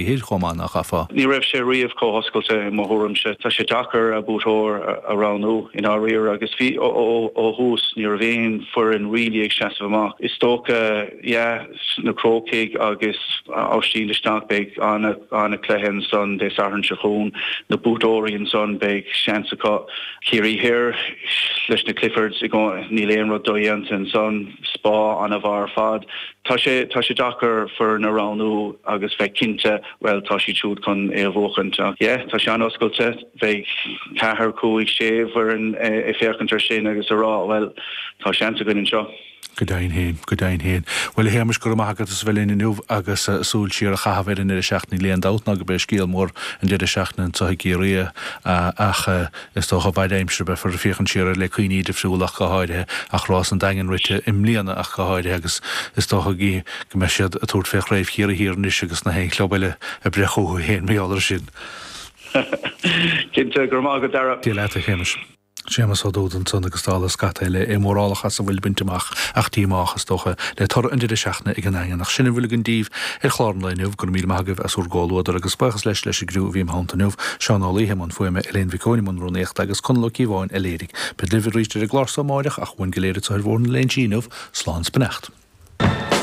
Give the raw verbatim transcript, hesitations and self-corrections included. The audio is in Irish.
Thoir chomh maith, nach gcaithfeá? Ní raibh sé riamh chomh hoscailte i mo thuairimse. Tá sé deacair buaiteoir a roghnú i ndáiríre agus bhí ó thús ní raibh aon foireann really ag seasamh amach. Is dócha yeah na Crócaigh agus Oisín Luisneach beidh an-chluiche ansan Dé Sathairn seo chugainn, na buaiteoirí ansan beidh seans acu. Ciarraí Thoir leis na Cliffords níl aon rud dodhéanta ansan, Spa an-mhaith ar fad. Tá sé tá sé deacair foireann a roghnú agus bheith cinnte bhuel tá siad siúd chun é a bhuachaint ach yeah tá sé an-oscailte beidh ceathair cúig sé foireann ag féachaint ar sin agus a rá bhuel tá seans againn anseo. Go deimhin féin, go deimhin féin. Bhuel a Shéamais, go raibh maith agat as a bheith linn inniu agus súil siar a chaitheamh ar an ndeireadh seachtaine. Níl aon dabht ná go b'é scéal mór an deireadh seachtaine anseo i gCiarraí ach is dócha bhail aimsir beifear ag féachaint siar air le cuimhní difriúla ach go háirithe ach rás an Daingin rite i mbliana ach go háirithe agus is dócha go mbeidh siad ag tabhairt fé Chraobh Chiarraí Thiar anois agus na haon chlub eile ag breith chucu féin mar gheall air sin. Cinnte, go raibh maith agat Dara. Dia leat a Shéamais. Séamus Ó Dúda ansan agus dála scata eile é mórálach as a bhfuil bainte amach ach díomách, is dócha, le toradh an deireadh seachtaine ag an nDaingean. Ach sin a bhfuil againn daoibh ar chlár an lae inniu. Go raibh míle maith agaibh as bhur gcomhluadar agus buíochas leis leis an gcriú a bhí im theannta inniu, Seán Ó Laoithe i mbun fuaime, Elaine Mhic Eoin i mbun rúnaíochta agus Conall Ó Cíobháin a léirigh. Bead libh arís ar an gclár so amáireach ach uainn go léir anseo ar Bhóthar na Léinsí inniu, slán 's beannacht.